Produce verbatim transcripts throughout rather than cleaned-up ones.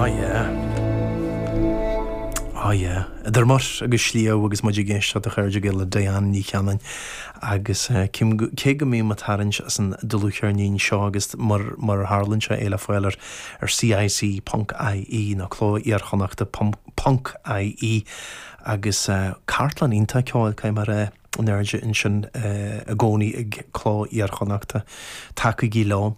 Oh yeah. Oh yeah. Idir muir agus sliabh agus muid ag éisteacht, a chairde le Diane Ní Chanainn agus eh, cé go mbím ag tarraingt as an dlúthcheirnín seo agus mar mar tharlaíonn sé é le fáil ar ar C I C ponc I E nó Cló Iar-Chonnachta ponc I E agus uh, cartlann iontach ceoil cé mar é an airde ansin uh, i gcónaí ag Cló Iar-Chonnachta. Tacaígí leo.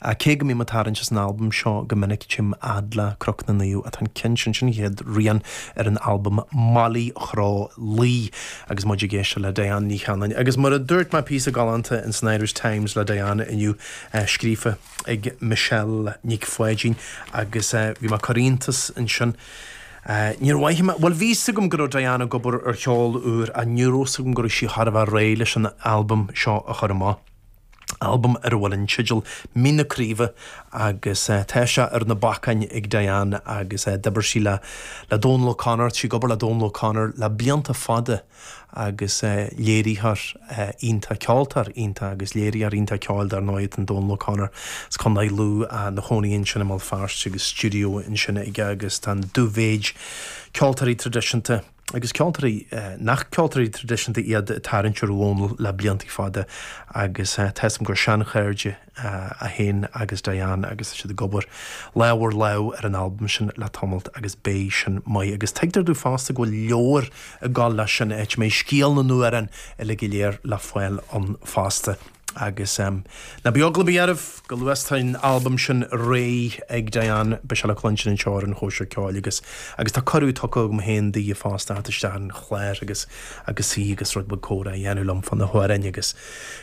A cé go mbím ag tarraingt as an albam seo go minic, téim fhad le Cnoc na Naomh atá an ceann sin sin chéad rian ar an albam Molly Chró Luí agus muid ag éisteacht le Diane Ní Chanainn. Agus mar a dúirt mé píosa galánta in san Irish Times le Diane inniu uh, scríofa ag Michelle Nic Pháidín agus uh, bhí mé cur iontas ansin. Uh, Níor mhaith mé well bhí a fhios agam go raibh Diane ag obair ar cheol úr a ní raibh a fhios agam go raibh sí thar a bheith réidh leis an albam seo a chur amach. Albam ar a bhfuil an teideal Mín na Craoibhe agus uh, tá sé ar na bacáin ag Diane agus uh, d'oibir sí le le Dónal O'Connor, sí ag obair le Dónal O'Connor le blianta fada agus uh, léiritheoir uh, iontach, ceoltóir iontach agus léiritheoir iontach ceoil dar ndóigh an Dónal O'Connor as Contae Lú uh, ina chónaí ansin i mBéal Feirste agus stiúideo ansin aige agus tá dúmhéid ceoltóirí traidisiúnta agus ceoltóirí eh, nach ceoltóirí traidisiúnta iad tarraingt ar Dhónal le blianta fada agus eh, tá gur seanchairde eh, a haon agus Diane agus siad ag obair lámh ar lámh ar an albam sin le tamall agus beidh sin maith agus tuigtear domh fosta go bhfuil leabhar ag gabháil leis sin áit mé scéal na n-amhrán uile go léir le fáil ann fosta. Agus um, na beogla bearbh go luastain albam sin réidh ag Diane be se le cluinstin anseo ar an Chóisir Ceoil agus agus tá cuireadh tugtha agam féin di fosta isteach an chlár agus agus sí agus rud beag comhrá a dhéanamh liom fá na hamhráin agus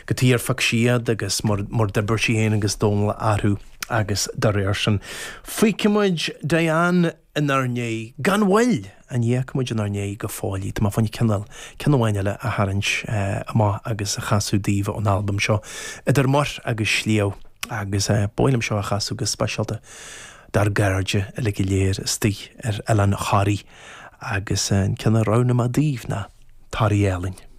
go tíar siad agus mar mar d'oibir sí féin agus Dónal orthu agus dá réir sin. Fágfaimid Diane inár ndiaidh gan mhoill an fhágfaimid inár ndiaidh go fóill í, Tá fann cineál ceann amháin eile a tharraingt eh, amach agus a chasadh daoibh ón albam seo Idir Muir agus Sliabh agus eh, b'áil liom seo a chasadh go speisialta dár gcairde uile go léir istigh ar Oileán Thoraí agus eh, an ceann a roghnaigh mé daoibh ná Toraigh Álainn.